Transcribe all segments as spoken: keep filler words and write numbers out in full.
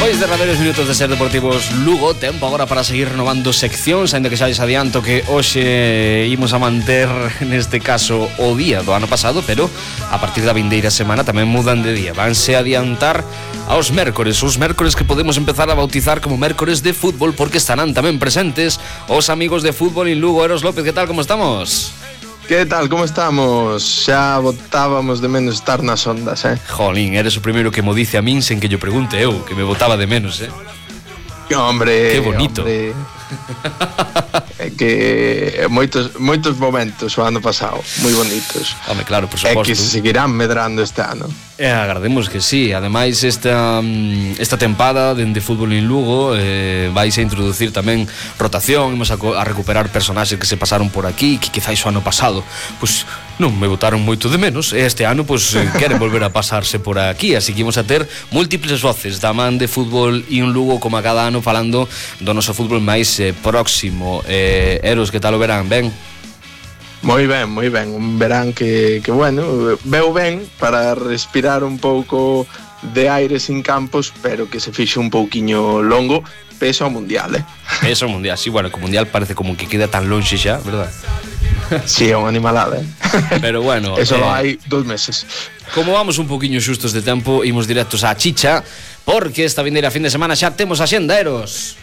Despois de radeiros minutos de Ser Deportivos Lugo, tempo agora para seguir renovando seccións, ainda que xa lles adianto que hoxe imos a manter neste caso o día do ano pasado, pero a partir da vindeira semana tamén mudan de día. Vanse adiantar aos mércores, os mércores que podemos empezar a bautizar como mércores de fútbol, porque estarán tamén presentes os amigos de fútbol en Lugo. Eros López, que tal, como estamos? Que tal, como estamos? Xa botábamos de menos estar nas ondas, eh? Jolín, eres o primeiro que mo dice a min sen que yo pregunte eu, que me botaba de menos, eh? Hombre, que bonito. Hombre. É que moitos moitos momentos o ano pasado, moi bonitos. Home, claro, por suposto. É que se seguirán medrando este ano. E agardemos que sí. Ademais, esta, esta tempada dende Fútbol en Lugo eh, vais a introducir tamén rotación. Imos a, a recuperar personaxes que se pasaron por aquí, que quizáis o ano pasado pois non me botaron moito de menos, e este ano pois queren volver a pasarse por aquí. Así que imos a ter múltiples voces da man de Fútbol en Lugo, como a cada ano, falando do noso fútbol máis eh, próximo. eh, Eros, que tal o verán? Ben? Moi ben, moi ben. Un verán que, que bueno, veu ben para respirar un pouco de aire sin campos, pero que se fixe un pouquiño longo, peso ao mundial, eh? Peso ao mundial, sí, bueno, que o mundial parece como que queda tan longe xa, verdad? Sí, é unha animalada, eh? Pero bueno, eso eh, hai dos meses. Como vamos un poquinho xustos de tempo, imos directos á chicha, porque esta vindeira fin de semana xa temos a xenda, Eros.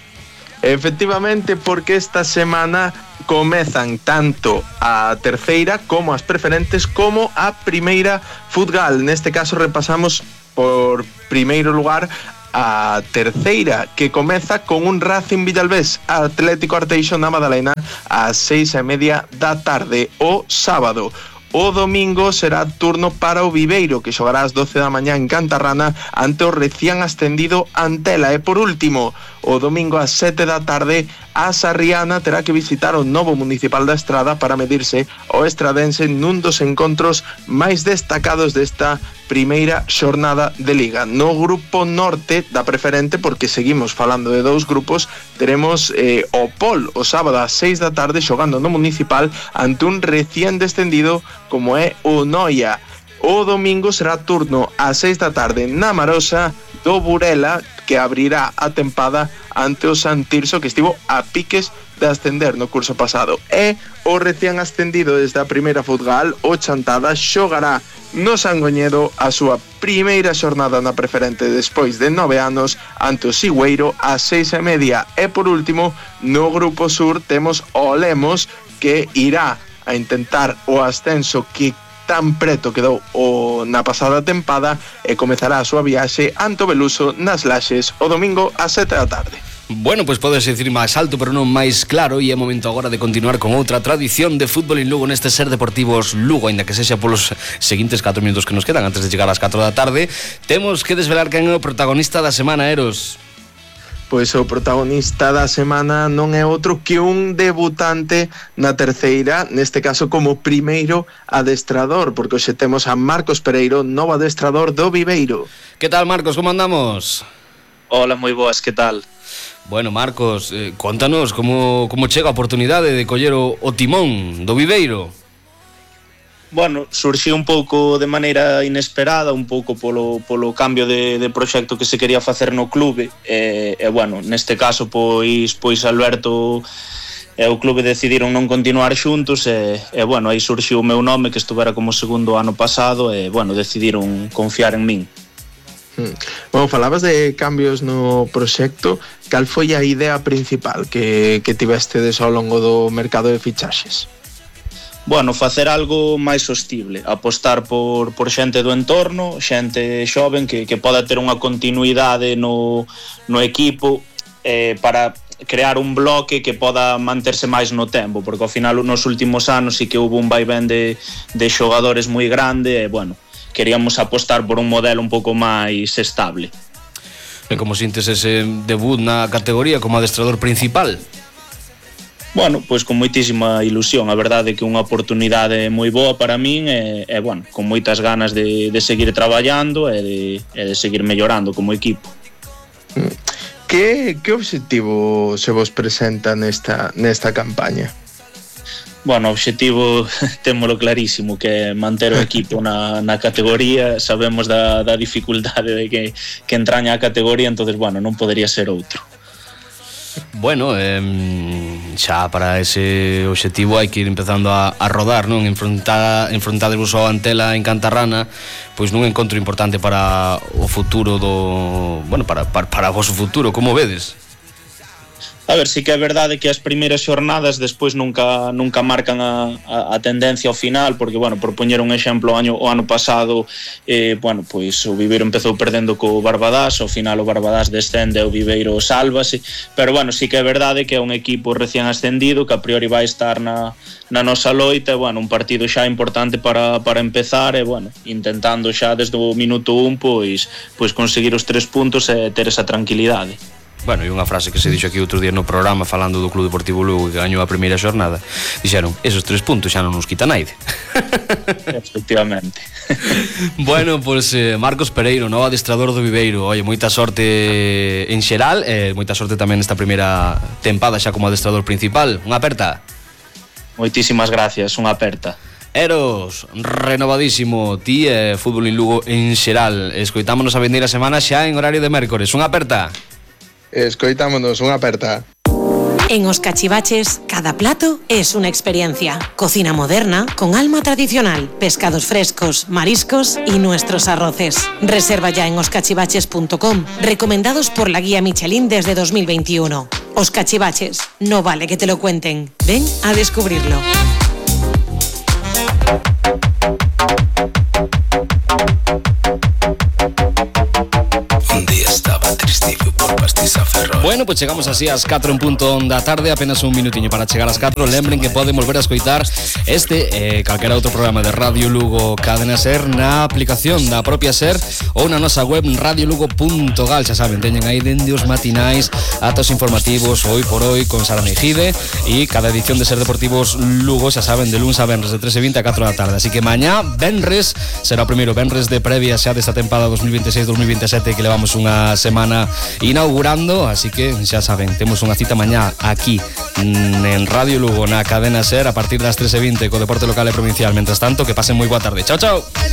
Efectivamente, porque esta semana comezan tanto a terceira como as preferentes como a primeira Futgal. Neste caso repasamos por primeiro lugar a terceira, que comeza con un Racing Villalbés Atlético Arteixo na Madalena ás seis e media da tarde o sábado. O domingo será turno para o Viveiro, que xogará ás doce da mañá en Cantarrana ante o recién ascendido Antela. E por último, o domingo ás sete da tarde, a Sarriana terá que visitar o novo Municipal da Estrada para medirse o estradense nun dos encontros máis destacados desta primeira xornada de Liga. No grupo norte da preferente, porque seguimos falando de dous grupos, teremos eh, o Pol o sábado ás seis da tarde xogando no Municipal ante un recién descendido como é o Noia. O domingo será turno ás seis da tarde na Marosa do Burela, que abrirá a tempada ante o San Tirso, que estivo a piques de ascender no curso pasado. E o recién ascendido desde a primeira Futgal, o Chantada, xogará no Sangoñedo a súa primeira xornada na preferente despois de nove anos ante o Sigüeiro ás seis e media. E por último, no grupo sur temos o Lemos, que irá a intentar o ascenso que tan preto quedou o na pasada tempada, e comezará a súa viaxe ante o Beluso nas Laxes o domingo ás sete da tarde. Bueno, pois podes decir máis alto, pero non máis claro, e é momento agora de continuar con outra tradición de Fútbol en Lugo neste Ser Deportivos Lugo, aínda que sexa polos seguintes catro minutos que nos quedan antes de chegar ás catro da tarde. Temos que desvelar quen é o protagonista da semana, Eros. Pois o protagonista da semana non é outro que un debutante na terceira, neste caso como primeiro adestrador, porque hoxe temos a Marcos Pereiro, novo adestrador do Viveiro. Que tal, Marcos, como andamos? Hola, moi boas, que tal? Bueno, Marcos, eh, contanos como, como chega a oportunidade de coller o, o timón do Viveiro. Bueno, surxiu un pouco de maneira inesperada, un pouco polo, polo cambio de, de proxecto que se quería facer no clube, e, e bueno, neste caso pois, pois Alberto e o clube decidiron non continuar xuntos, e, e bueno, aí surxiu o meu nome, que estuvera como segundo ano pasado, e bueno, decidiron confiar en min. Hmm. Bueno, falabas de cambios no proxecto. Cal foi a idea principal que, que tivestedes ao longo do mercado de fichaxes? Bueno, facer algo máis sostible, apostar por, por xente do entorno, xente xoven que, que poda ter unha continuidade no, no equipo, eh, para crear un bloque que poda manterse máis no tempo, porque ao final nos últimos anos sí que houve un vaivén de, de xogadores moi grande, e bueno, queríamos apostar por un modelo un pouco máis estable. E como sintes ese debut na categoría como adestrador principal? Bueno, pois con moitísima ilusión, a verdade é que unha oportunidade moi boa para min, e, e bueno, con moitas ganas de, de seguir traballando e de, e de seguir mellorando como equipo. Que, que obxectivo se vos presenta nesta, nesta campaña? Bueno, o obxectivo témolo clarísimo, que é manter o equipo na, na categoría. Sabemos da, da dificultade de que, que entraña a categoría, entonces, bueno, non podería ser outro. Bueno, eh, xa para ese obxectivo hai que ir empezando a, a rodar, non? Enfrontar, enfrontadervos ao Antela en Cantarrana, pois nun encontro importante para o futuro do... Bueno, para, para, para o vosso futuro, como vedes? A ver, sí que é verdade que as primeiras xornadas despois nunca nunca marcan a, a, a tendencia ao final, porque, bueno, por poñer un exemplo, o ano, o ano pasado, eh, bueno, pois o Viveiro empezou perdendo co Barbadás, ao final o Barbadás descende e o Viveiro sálvase, pero, bueno, sí que é verdade que é un equipo recién ascendido, que a priori vai estar na, na nosa loita, e, bueno, un partido xa importante para, para empezar, e, bueno, intentando xa desde o minuto un, pois, pois conseguir os tres puntos e ter esa tranquilidade. Bueno, e unha frase que se dixo aquí outro día no programa falando do Club Deportivo Lugo que gañou a primeira xornada, dixeron, esos tres puntos xa non nos quita naide. Efectivamente. Bueno, pois pues, eh, Marcos Pereiro, novo adestrador do Viveiro. Oye, moita sorte en xeral, eh, moita sorte tamén nesta primeira tempada xa como adestrador principal. Unha aperta. Moitísimas gracias, unha aperta. Eros, renovadísimo, ti e eh, Fútbol en Lugo en xeral. Escoitámonos a vindeira semana xa en horario de mércores. Unha aperta. Escoitámonos, unha aperta. En Os Cachivaches, cada plato es una experiencia. Cocina moderna con alma tradicional, pescados frescos, mariscos y nuestros arroces. Reserva ya en os cachivaches punto com, recomendados por la guía Michelin desde dos mil veintiuno. Os Cachivaches, no vale que te lo cuenten. Ven a descubrirlo. Un día estaba triste por pastiza ferrol. Bueno, pues chegamos así ás catro en punto da tarde, apenas un minutiño para chegar ás catro. Lembren que poden volver a escoitar este e eh, calquera outro programa de Radio Lugo Cadena Ser na aplicación da propia Ser ou na nosa web radio lugo punto gal. Xa saben, teñen aí dende os matinais atos informativos hoy por hoy con Sara Mejide e cada edición de Ser Deportivos Lugo, xa saben, de luns a venres de tres e vinte a catro da tarde. Así que mañá, venres, será o primeiro venres de previa xa desta tempada dos mil veintiséis dos mil veintisiete que levamos unha semana inaugurando, así que xa saben, temos unha cita mañá aquí en Radio Lugo na Cadena Ser a partir das tres e vinte co deporte local e provincial. Mentras tanto, que pasen moi boa tarde. Chao, chao.